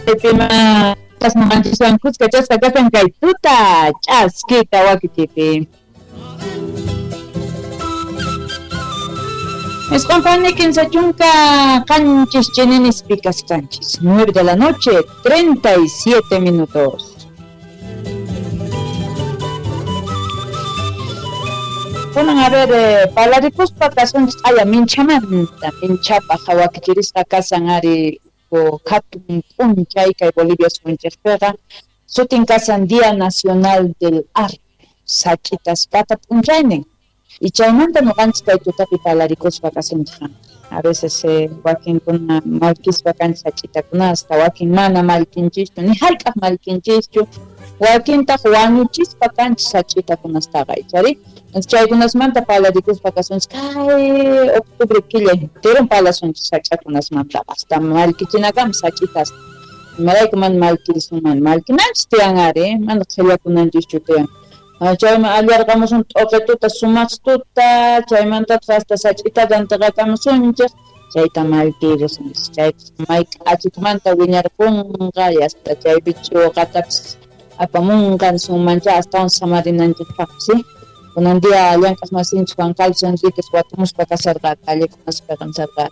Chaypima kasqanchiswan kuskachasqa kasan kay tuta ch'askita wakichipi. Isqun 37 chininis pikaskanchis, 9 de la noche, 37 minutos. Kunan a ver, palarikuspa kasunchis aya minchamanta, minchapaj wakichirisqa kasan ari hatun p'unchay kay Bolivia suyunchikpiqa, sutin kasan Día Nacional del Arte, sach'itaspata p'unchaynin. Y chaymanta ñuqanchis kay tutapi palarikuspa kasunchik. A veces wakinkuna mallkispa kanchis sach'itakunasta, wakin mana mallkinchischu, ni hayk'aq mallkinchischu, wakintaq wañuchispa kanchis sach'itakunastaqa, ichari? Chaykunasmanta palarikuspa kasunchik kay octubre killa enteron palasunchis sach'akunasmantaqa, hasta mallkichinakama sach'itas. Imarayku mana mallkirisunman, mallkinanchis tiyan ari, mana qhillakunanchischu tiyan. Chayman allarqamusun t'uqituta sumaqtuta, chaymantataq hasta sach'itata antiqakamusunchik, chayta mallkirisunchis. Chayta may k'achitumanta wiñarqunqa, y hasta chaypi ch'uqatapis apamunqa nisunmancha astawan samarinanchikpaqpis, ¿sí? Kunan día llank'aq masinchik Juan Carlos Enríquez watumuspa kasharqa callekunaspi nisharqa.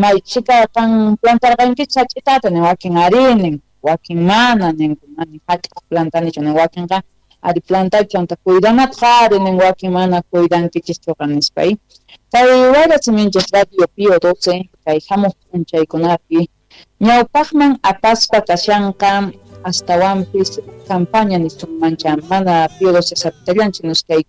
May chhika qan plantarqankichu sach'itata nin, wakin ari nin, wakin mana ninku, mana hayk'aq plantanichu nin, wakinqa ari plantaychu chanta cuidanataq ari nin, wakin mana cuidankichischuqa nispa. Kay wayra siminchik Radio Pío 12 kay hamuq p'unchaykunapi ñawpaqman apaspa kashanqa astawanpis campaña nisunmancha, mana Pío 12 sapitallanchu, kay